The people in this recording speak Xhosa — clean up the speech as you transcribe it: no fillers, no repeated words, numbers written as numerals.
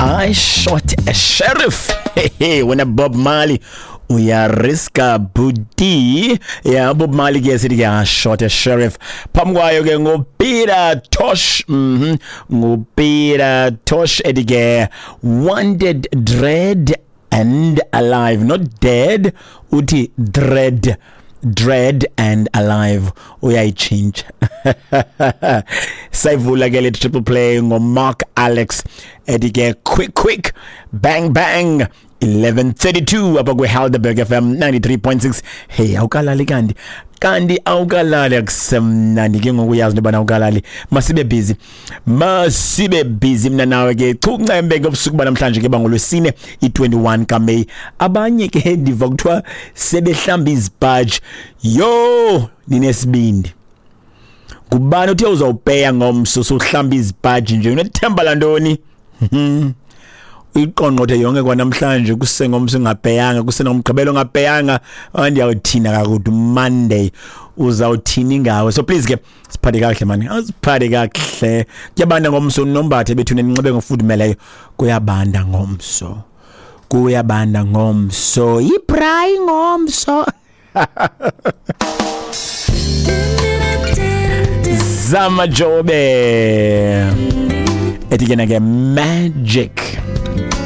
I Shot a Sheriff. Hey, wena Bob Marley uyariska buti. Ya, Bob Marley ke sithi ke I Shot a Sheriff. Phambi kwayo ke nguPeter Tosh. NguPeter Tosh ethi ke Wanted Dread and Alive, not dead, uthi dread, dread and alive, uyayitshintsha. Sayivula ke le triple play ngoMark Alex ethi ke Quick Quick Bang Bang. 11:32 apha kwiHelderberg FM 93.6. Hey, awukalali kanti? Kanti awukalali? Akusemnandi ke ngoku, uyazi into yobana awukalali. Masibe busy, masibe busy mna nawe ke chuncembe ngobusuku banamhlanje ke bangolwesine i-21 kaMeyi. Abanye ke ndiva kuthiwa sebehlamba izipaji. Yho, ninesibindi! Ngubani uthe uzawupeya ngomso sohlamba izipaji nje? Unethemba lantoni? Uyiqongqothe yonke kwanamhlanje, kusengomso ungapeyanga, kusenomgqibelo ungapeyanga, andiyawuthina kakude Monday uzawuthini ngawe? So please ke siphathe kakuhle mani, asiphathe kakuhle. Kuyabanda ngomso, nombathe bethune, ninxibe ngofudumeleyo. Kuyabanda ngomso, kuyabanda ngomso, ibrayi ngomso. Zama Jobe ethi ke na ke Magic.